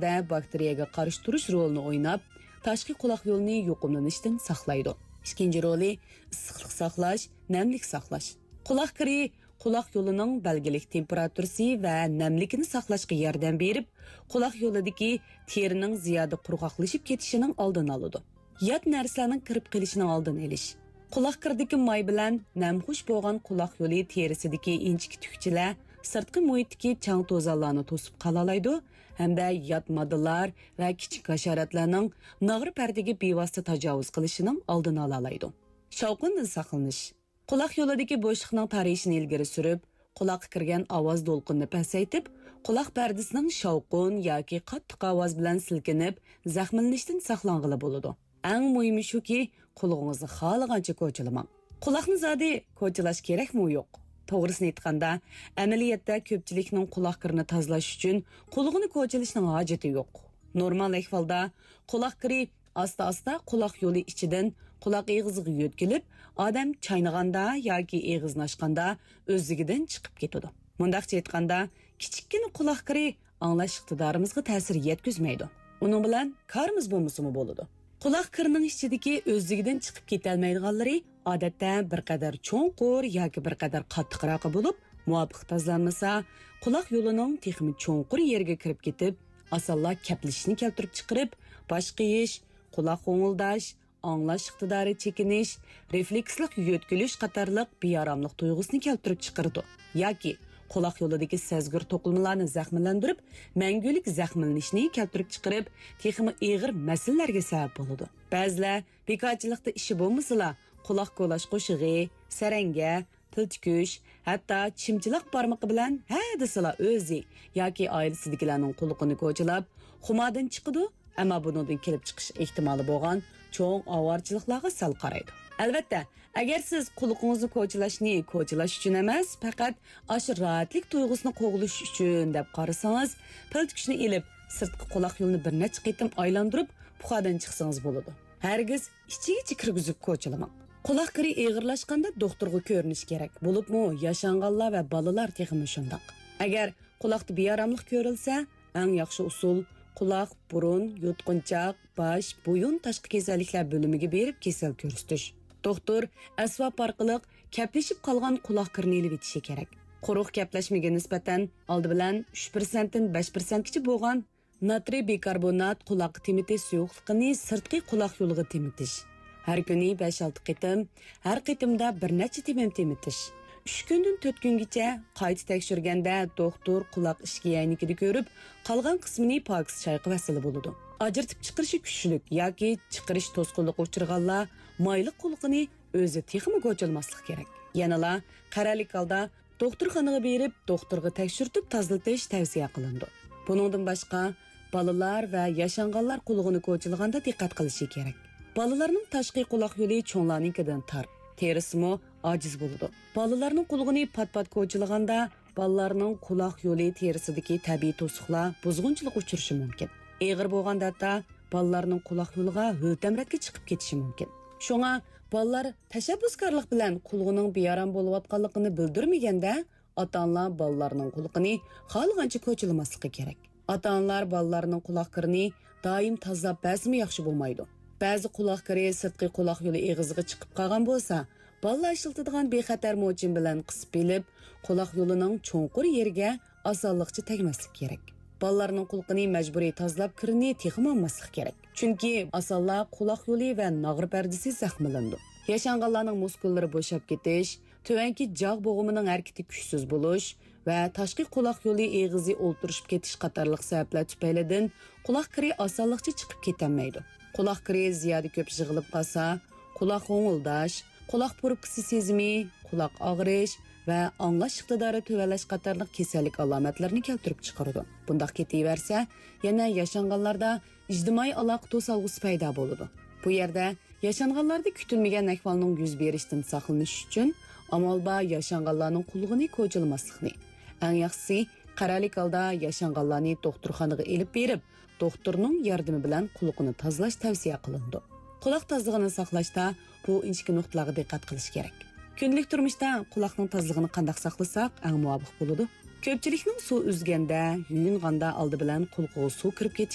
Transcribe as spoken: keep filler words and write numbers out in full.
دە باكتېرىيەگە قارشى تۇرۇش رولىنى ئويناپ، تاشقى قۇلاق يولىنى يۇقۇملىنىشتىن ساقلايدۇ. ئىككىنچى رولى، ئىسسىقلىق ساقلاش، نەملىك ساقلاش. قۇلاق كىرى قۇلاق يولىنىڭ بەلگىلىك تېمپېراتۇرىسى ۋە نەملىكىنى ساقلاشقا ياردەم بېرىپ، قۇلاق يولىدىكى تېرىنىڭ زىيادە قۇرغاقلىشىپ كېتىشىنىڭ ئالدىنى ئالىدۇ. يات نەرسىلەرنىڭ كىرىپ قېلىشىنىڭ ئالدىنى ئېلىش. قۇلاق كىرىدىكى ماي بىلەن نەمخۇش بولغان قۇلاق يولى تېرىسىدىكى ئىنچىكە تۈكچىلەر سىرتقى مۇھىتتىكى چاڭ-توزانلارنى توسۇپ قالالايدۇ ھەمدە يات ماددىلار ۋە كىچىك ھاشاراتلارنىڭ ناغرا پەردىگە بىۋاسىتە تاجاۋۇز قىلىشىنىڭ ئالدىنى ئالالايدۇ. شاۋقۇندىن ساقلىنىش. قۇلاق يولىدىكى بوشلۇقنىڭ تارىيىشىنى ئىلگىرى سۈرۈپ، قۇلاققا كىرگەن ئاۋاز دولقۇنىنى پەسەيتىپ، قۇلاق پەردىسىنىڭ شاۋقۇن ياكى قاتتىق ئاۋاز بىلەن سىلكىنىپ، زەخىملىنىشتىن ساقلانغىلى بولىدۇ. ئەڭ مۇھىمى شۇكى، قۇلىقىڭىزنى خالىغانچە كوچىلىماڭ. قۇلاقنى زادى كوچىلاش كېرەكمۇ يوق؟ توغرىسىنى ئېيتقاندا، ئەمەلىيەتتە كۆپچىلىكنىڭ قۇلاق كىرىنى تازىلاش ئۈچۈن قۇلىقىنى كوچىلىشنىڭ ھاجىتى يوق. نورمال ئەھۋالدا قۇلاق كىرى ئاستا-ئاستا قۇلاق يولى ئىچىدىن قۇلاق ئېغىزىغا يۆتكىلىپ، ئادەم چاينىغاندا ياكى ئېغىزىنى ئاچقاندا ئۆزلۈكىدىن چىقىپ كېتىدۇ. مۇنداقچە ئېيتقاندا، كىچىككىنە قۇلاق كىرى ئاڭلاش ئىقتىدارىمىزغا تەسىر يەتكۈزمەيدۇ. ئۇنىڭ بىلەن كارىمىز بولمىسىمۇ بولىدۇ. قۇلاق كىرىنىڭ ئىچىدىكى ئۆزلۈكىدىن چىقىپ كېتەلمەيدىغانلىرى ئادەتتە بىر قەدەر چوڭقۇر ياكى بىر قەدەر قاتتىقراقى بولۇپ، مۇۋاپىق تازىلانمىسا، قۇلاق يولىنىڭ تېخىمۇ چوڭقۇر يېرىگە كىرىپ كېتىپ، ئاسانلا كەپلىشىشنى كەلتۈرۈپ چىقىرىپ، باش قېيىش، قۇلاق غوڭۇلداش، ئاڭلاش ئىقتىدارى چېكىنىش، رېفلېكسلىق يۆتكىلىش قاتارلىق بىئاراملىق تۇيغۇسىنى كەلتۈرۈپ چىقىرىدۇ ياكى قۇلاق يولىدىكى سەزگۈر توقۇلمىلارنى زەخىملەندۈرۈپ، مەڭگۈلۈك زەخىملىنىشنى كەلتۈرۈپ چىقىرىپ، تېخىمۇ ئېغىر مەسىلىلەرگە سەۋەب بولىدۇ. بەزىلەر بىكارچىلىقتا ئىشى بولمىسىلا، قۇلاق كولاش قوشۇقى، سەرەڭگە، پىل تۈكۈش، ھەتتا چىمچىلاق بارمىقى بىلەن ھە دېسىلا ئۆزى ياكى ئائىلىسىدىكىلەرنىڭ قۇلىقىنى كوچىلاپ، خۇماردىن چىقىدۇ، ئەمما بۇنىڭدىن كېلىپ چىقىش ئېھتىمالى بولغان چوڭ ئاۋارىچىلىكلەرگە سەل قارايدۇ. ئەلۋەتتە، ئەگەر سىز قۇلىقىڭىزنى كوچىلاشنى كوچىلاش ئۈچۈن ئەمەس، پەقەت ئاشۇ راھەتلىك تۇيغۇسىنى قوغلىشىش ئۈچۈن دەپ قارىسىڭىز، پىل تۈكۈشنى ئېلىپ، سىرتقى قۇلاق يولىنى بىر نەچچە قېتىم ئايلاندۇرۇپ، پۇخادىن چىقسىڭىز بولىدۇ. ھەرگىز ئىچىگە كىرگۈزۈپ كوچىلىماڭ. قۇلاق كىرى ئېغىرلاشقاندا دوختۇرغا كۆرۈنۈش كېرەك، بولۇپمۇ ياشانغانلار ۋە بالىلار تېخىمۇ شۇنداق. ئەگەر قۇلاقتا بىئاراملىق كۆرۈلسە، ئەڭ ياخشى ئۇسۇل، قۇلاق، بۇرۇن، يۇتقۇنچاق، باش، بويۇن تاشقى كېسەللىكلەر بۆلۈمىگە بېرىپ كېسەل كۆرسىتىش. دوختۇر ئەسۋاب ئارقىلىق كەپلىشىپ قالغان قۇلاق كىرىنى ئېلىۋېتىشى كېرەك. قۇرۇق كەپلەشمىگە نىسبەتەن ئالدى بىلەن ئۈچ پىرسەنتتىن بەش پىرسەنتكىچە بولغان ناترىي بىكاربونات قۇلاققا تېمىتىش سۇيۇقلۇقىنى سىرتقى قۇلاق يولىغا تېمىتىش. ھەر كۈنى بەش-ئالتە قېتىم، ھەر قېتىمدا بىر نەچچە تېمىم تېمىتىش. ئۈچ كۈندىن تۆت كۈنگىچە قايتا تەكشۈرگەندە، دوختۇر قۇلاق ئىچكى ئەينىكىدە كۆرۈپ، قالغان قىسمىنى پاكىز چايقىۋەتسىلا بولىدۇ. ئاجرىتىپ چىقىرىشى كۈچلۈك ياكى چىقىرىش توسقۇنلۇقى ئۇچرىغانلار مايلىق قۇلىقىنى ئۆزى تېخىمۇ كوچىلىماسلىق كېرەك. يەنىلا قەرەللىك ھالدا دوختۇرخانىغا بېرىپ، دوختۇرغا تەكشۈرتۈپ تازىلىتىش تەۋسىيە قىلىنىدۇ. بۇنىڭدىن باشقا، بالىلار ۋە ياشانغانلار قۇلىقىنى كوچىلىغاندا دىققەت قىلىشى كېرەك. بالىلارنىڭ تاشقى قۇلاق يولى چوڭلارنىڭكىدىن تار، تېرىسىمۇ ئاجىز بولىدۇ. بالىلارنىڭ قۇلىقىنى پات-پات كوچىلىغاندا، بالىلارنىڭ قۇلاق يولى تېرىسىدىكى تەبىئىي توسۇقلار بۇزغۇنچىلىق ئۇچرىشى مۇمكىن. ئېغىر بولغاندا ھەتتا بالىلارنىڭ قۇلاق يولىغا ھۆل-تەمرەتكە چىقىپ كېتىشى مۇمكىن. شۇڭا بالىلار تەشەببۇسكارلىق بىلەن قۇلىقىنىڭ بىئارام بولۇۋاتقانلىقىنى بىلدۈرمىگەندە، ئاتا-ئانىلار بالىلارنىڭ قۇلىقىنى خالىغانچە كوچىلىماسلىقى كېرەك. ئاتا-ئانىلار بالىلارنىڭ قۇلاق كىرىنى دائىم تازىلاپ بەرسىمۇ ياخشى بولمايدۇ. بەزى قۇلاق كىرى سىرتقى قۇلاق يولى ئېغىزىغا چىقىپ قالغان بولسا، بالىلار ئىشلىتىدىغان بىخەتەر موچىن بىلەن قىسىپ ئېلىپ، قۇلاق يولىنىڭ چوڭقۇر يېرىگە ئاسانلىقچە تەگمەسلىك كېرەك. بالىلارنىڭ قۇلىقىنى مەجبۇرىي تازىلاپ، كىرىنى تېخىمۇ ئالماسلىق كېرەك. چۈنكى ئاسانلا قۇلاق يولى ۋە ناغرا پەردىسى زەخىملىنىدۇ. ياشانغانلارنىڭ مۇسكۇللىرى بوشاپ كېتىش، تۆۋەنكى جاغ بوغۇمىنىڭ ھەرىكىتى كۈچسىز بولۇش ۋە تاشقى قۇلاق يولى ئېغىزى ئولتۇرۇشۇپ كېتىش قاتارلىق سەۋەبلەر تۈپەيلىدىن قۇلاق كىرى ئاسانلىقچە چىقىپ كېتەلمەيدۇ. قۇلاق كىرى زىيادە كۆپ يىغىلىپ قالسا، قۇلاق غوڭۇلداش، قۇلاق پۇرۇپكىسى سېزىمى، قۇلاق ئاغرىش ۋە ئاڭلاش ئىقتىدارى تۆۋەنلەش قاتارلىق كېسەللىك ئالامەتلىرىنى كەلتۈرۈپ چىقىرىدۇ. بۇنداق كېتىۋەرسە، يەنە ياشانغانلاردا ئىجتىمائىي ئالاقە توسالغۇسى پەيدا بولىدۇ. بۇ يەردە ياشانغانلاردا كۈتۈلمىگەن ئەھۋالنىڭ يۈز بېرىشىدىن ساقلىنىش ئۈچۈن ئامال بار ياشانغانلارنىڭ قۇلىقىنى كوچىلىماسلىقنى، ئەڭ ياخشىسى قەرەللىك ھالدا ياشانغانلارنى دوختۇرخانىغا ئېلىپ بېرىپ، دوختۇرنىڭ ياردىمى بىلەن قۇلىقىنى تازىلاش تەۋسىيە قىلىنىدۇ. قۇلاق تازىلىقىنى ساقلاشتا بۇ ئىنچىكە نۇقتىلارغا دىققەت قىلىش كېرەك. كۈندىلىك تۇرمۇشتا قۇلاقنىڭ تازىلىقىنى قانداق ساقلىساق ئەڭ مۇۋاپىق بولىدۇ؟ كۆپچىلىكنىڭ سۇ ئۈزگەندە، يۇيۇنغاندا ئالدى بىلەن قۇلىقىغا سۇ كىرىپ كېتىش